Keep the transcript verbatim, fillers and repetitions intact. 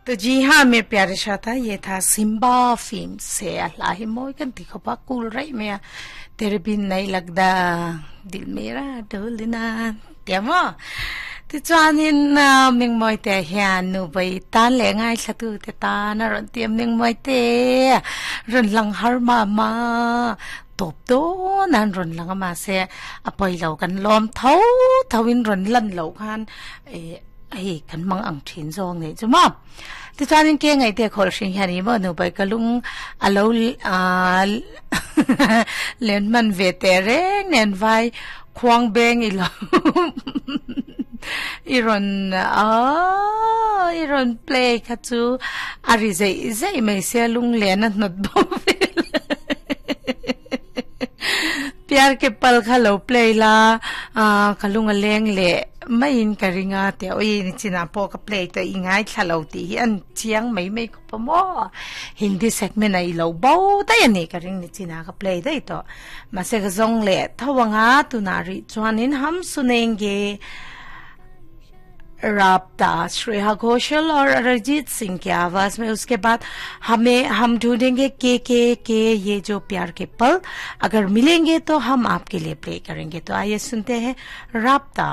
तो जी हाँ मेरे प्यारे श्रोता, ये था सिम्बा फिल्म से अल्लाह ही मोय kan ti khopa cool rai me tere bin nei lagda dil mera dolina tiamo ti chuanin ming moi te hian nu bai tan le ngai thlatu te ta na ron tiam ming moi te ron lang har ma ma top do nan ron lang ma se apoi lo kan lom tho thawin ron lan lo khan e ai kan mang ang thin zong nei chu ma ti chuanin ke ngai te khol hring hian i mo nu bai kalung alo a len man ve te reng nen vai khuang beng i lo i ron a i ron play kha chu ari zai zai mai se lung len a not bo vel pyar ke pal kha lo play la a kalung a leng le mai in ka ringa te oi ni china po ka play te ingai thalo ti hi an chiang mai mai ko pa mo Hindi segment ai lo bo dai ani ka ring ni china ka play dai to ma se ka zong le thawanga tu na ri chuanin hum sunenge राबता श्रेया घोषाल और अरिजीत सिंह की आवाज में। उसके बाद हमें हम ढूंढेंगे के के के ये जो प्यार के पल अगर मिलेंगे तो हम आपके लिए प्ले करेंगे। तो आइए सुनते हैं राबता।